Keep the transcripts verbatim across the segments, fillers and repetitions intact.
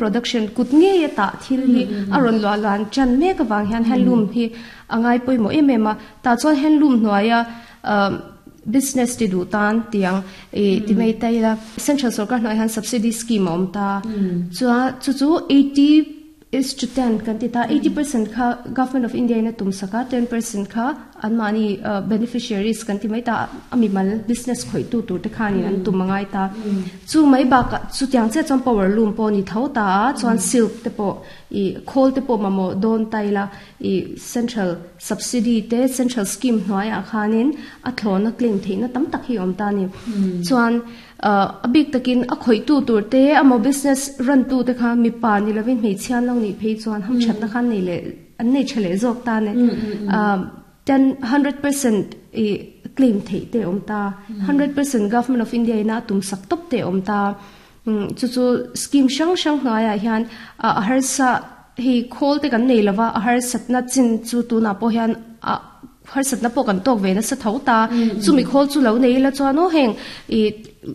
Production kut nge ta thil hi aron lo lan chan me ka wang hian handloom hi angai poimo em em a. Ta chuan handloom hnuaia business ti du tan tiang e ti mai tai la, central sarkar hnuai han subsidy scheme om ta chua chu chu eighty is to ten kan ti ta. eighty percent kha Government of India na tum saka, ten percent kha an mani beneficiaries kan ti mai ta, ami mal business khoi tu tur te khani an tum mangai ta. Chu mai ba ka chu tiang che chon power loom po ni tho ta, chuan silk te po i khol te po mamo don tai la, i central subsidy te, central scheme hnuai a khanin a thlona claim theina tam tak hi om ta ni. Chuan a big takin a khoi tu tur te amo business run tu te kha mi pa ni lovin hmei chian lo ni phei chuan ham chat na khan nei le an nei chale jok ta ne. ten one hundred percent i claim thei te om ta, one hundred percent Government of India ina tum sak top te om ta. Chu chu scheme sang sang hnuai hian a har sa hi khol te kan nei lova, a har satna chin chu tu na po hian a har satna po kan tok ve na sa tho ta. Chu mi khol chu lo nei la chuan o heng i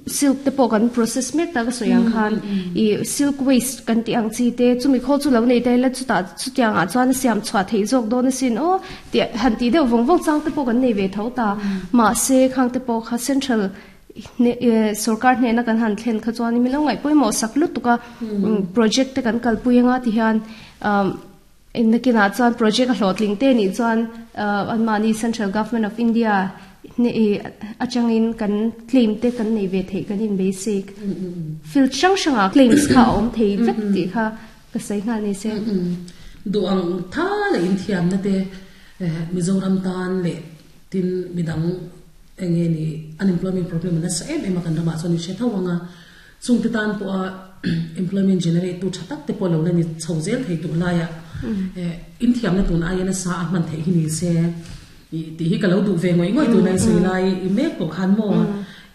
silk te po kan process mek ta ka soyang khan i silk waste kan ti ang chi te, chu mi khol chu lo nei te la chu ta chu tiang a chuan siam chwa thei jok do na sin o ti han ti deuh vong vong chang te po kan nei ve tho ta. Ma se khang te po kha central ne sarkar hne na kan han thlen kha chuan mi lo ngai poimo sak lu tuka project te kan kal puinga ti hian in na kina chuan project a hlotling te ni chuan an mani central Government of India ne achangin kan claim te kan nei ve thei kan in basic field sang sanga claims kha om thei vek ti kha ka sai nga ni se. Du ang tha le in thiam na te Mizoram tan le tin midang enge ni unemployment problem na sa em em kan rama chuan she thawanga chung te tan po a employment generate tu thatak te po lo na ni chhozel thei tu la ya in thiam na tun ai na sa a man thei hi ni se i ti hi ka lo du ve ngoi ngoi tu nai sui lai i mek po khan mo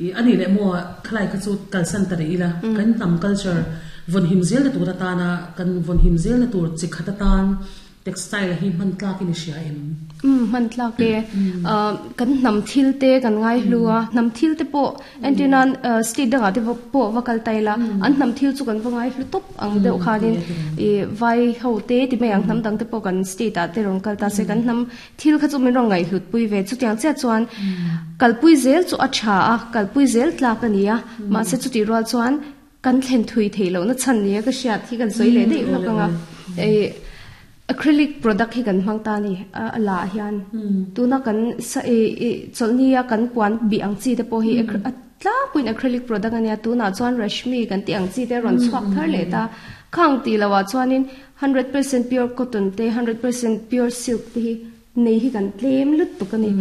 i ani le mo khlai kha chu kal san tare ila kan nam culture von him zel na tur ta na kan von him zel na tur chi khata tan textile hi man tlak in sia em? um man tlak ke kan nam thil te kan ngai hlua, nam thil te po antinan state danga te po vakal taila an nam thil chu kan wangai hlu top ang deuh khanin i vai ho te ti mai ang nam dang te po kan state a te rong kal ta se kan nam thil kha chu min rong ngai hlut pui ve. Chu tiang che chuan kalpui zel chu a tha a, kalpui zel tlak ania. Ma se chu ti rual chuan kan thlen thui theilo na chan nia ka hriat hi kan soi le dei lokanga e acrylic product hi kan hmang ta ni a la hian tuna kan sa e cholnia kan puan bi ang chi te po hi tla puin acrylic product ania. Tuna chuan rashmi kan ti ang chi te ron chhuak thar le ta khang ti lawa chuanin one hundred percent pure cotton te, one hundred percent pure silk te hi nei hi kan tlem lut tuk ani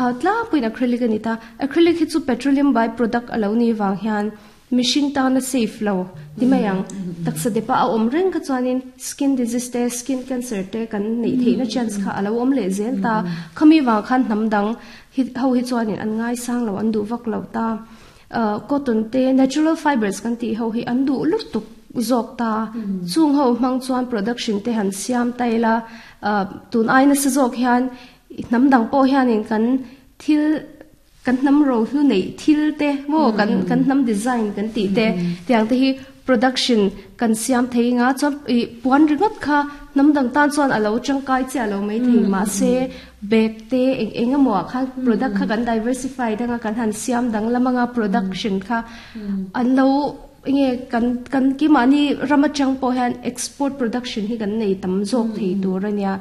a. Tla puin acrylic ani ta. Acrylic hi chu petroleum by product alo ni wang hian machine ta na safe lo ti mayang taksa de pa a om reng kha chuanin skin disease te, skin cancer te kan nei theina chance kha alo om le zel ta. Khami wang khan nam dang hi ho hi chuanin an ngai sang lo, an du vak lo ta. Cotton te, natural fibers kan ti ho hi an du lut tuk zok ta. Chung ho mang chuan production te han siam taila tun ai na sa zok hian nam dang po hianin kan thil kan nam ro hlu nei thil te mo kan kan nam design kan ti te tiang te hi production kan siam thei nga chuan i puan ringot kha nam dang tan chuan alo changkai che alo mai thei. Ma se bag te eng eng emaw kha product kha kan diversify danga kan han siam dang lamanga production kha an lo nge kan kan ki mani rama chang po hian export production hi kan nei tam zawk thei tur ania.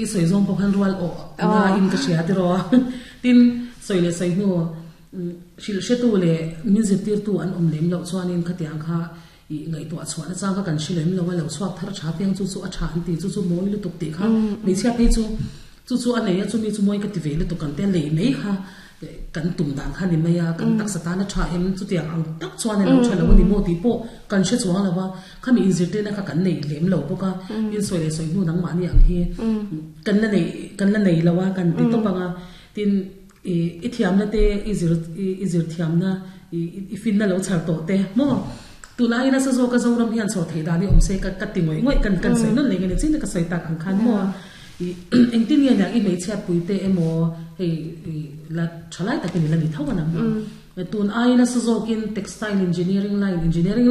I soi zong po khan rual o na in ka sia te ro tin soi le soi nu shil she tu le min zir tir tu an om lem lo chuan in khatiang kha i ngai to chuan na chang ka kan shilem lo lo chuak thar tha piang chu chu a tha an ti chu chu moi lu tuk ti kha mi chia phei chu chu chu an nei chu mi chu moi ka ti ve lu tuk kan te le mei kha kan tum dan kha ni maya kan tak sata na tha em chu tiang ang tak chuan lo tha lo ni mo ti po kan she chuang lawa kha mi in zir te na kha kan nei lem lo boka in soi le soi nu nang ma ni ang hi kan la nei kan la nei lawa kan ti to panga tin i i thiam na te i zir i zir thiam na i i fin na lo char to te mo tu lai na sa zo ka zo ram hian so thei da ni om se ka ka ti ngoi ngoi kan kan sei non le nge chin ka sei tak ang khan mo i eng tin nge i mei chhiat pui te emo hei la thalai takin la ni thawa na mo tun ai na sa zokin textile engineering line engineering.